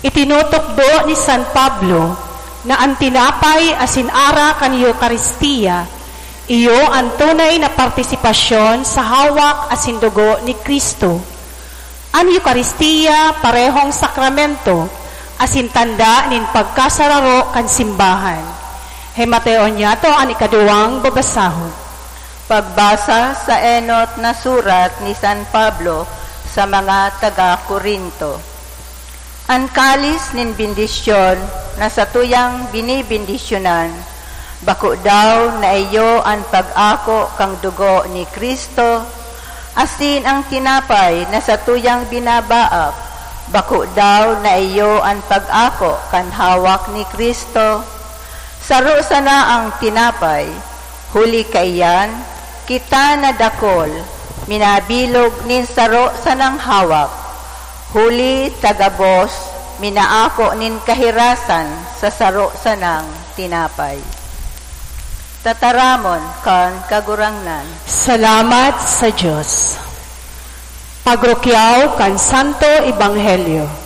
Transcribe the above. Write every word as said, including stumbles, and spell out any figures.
Itinutukdo ni San Pablo na an tinapay asin arak kan Eukaristia iyo an tunay na partisipasyon sa hawak asin dugo ni Cristo. An Eukaristia parehong sakramento asin tanda nin pagkasararo kan simbahan. Himateon niyato an ikaduwang babasahon. Pagbasa sa enot na surat ni San Pablo sa mga taga Corinto. An kalis nin bendisyon na satuyang binibendisyonan, bako daw na iyo an pag-ako kan dugo ni Cristo? Asin an tinapay na satuyang binabaak, bako daw na iyo an pag-ako kan hawak ni Cristo? Saro sana an tinapay, huli kaiyan, kita na dakul, minabilog nin saro sanang hawak, huli ta gabos minaako nin kahirasan sa saro sanang tinapay. Tataramon kan Kagurangnan. Salamat sa Dios. Pagrukyaw kan Santo Ebanghelyo.